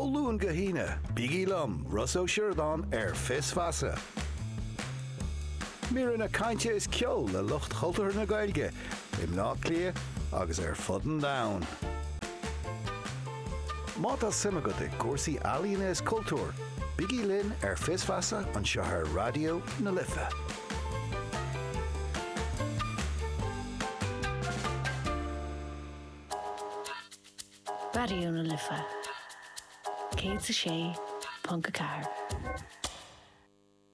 Ó Luan go hAoine, bígí liom, Rossa Ó Sioradáin, ar Fios Feasa. Míreanna cainte is ceol le lucht chultúrtha na Gaeilge i mBleá Cliath agus ar fud an domhain. Má tá suim agat i gcúrsaí ealaíona is cultúir, bígí linn ar Fios Feasa anseo ar Raidió na Life. Raidió na Life 106.4.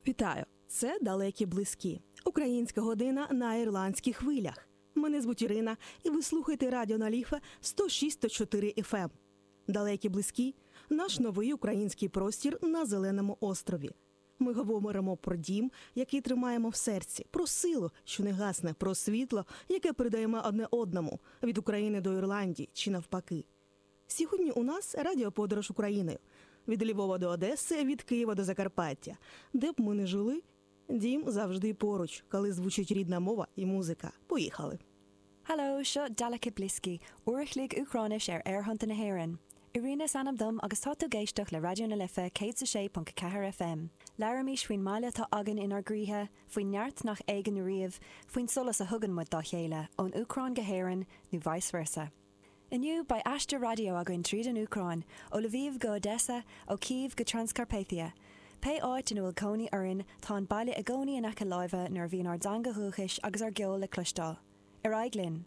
Вітаю! Це далекі близькі. Українська година на ірландських хвилях. Мене звуть Ірина, і ви слухаєте Радіо Наліфе 106.4 FM. Далекі близькі наш новий український простір на Зеленому острові. Ми говоримо про дім, який тримаємо в серці, про силу, що не гасне, про світло, яке передаємо одне одному від України до Ірландії чи навпаки. Сьогодні у нас радіоподорож Україною від Львова до Одеси, від Києва до Закарпаття. Де б ми не жили, дім завжди поруч, коли звучить рідна мова і музика. Поїхали! Hello, seo Daleky Blisky, uair a chloig Úcráinis ar aerthonnta na hÉireann. Irina is ainm dom agus tá tú ag éisteacht le Raidió na Life 106.4 FM. Labhraímis faoin mbaile atá againn inár gcroíthe, faoin neart nach éagann riamh, faoin solas a thugann muid dá chéile, ón Úcráin go hÉirinn, nó vice versa. Inniu, beidh aistear raidió againn tríd an Úcráin, ó Lviv go Odessa, ó Kyiv go Transcarpathia. Pé áit ina bhfuil cónaí orainn, tá an baile i gcónaí in aice láimhe nuair a bhíonn ár dteanga dhúchais agus ár gceol le cloisteáil. Ar aghaidh linn!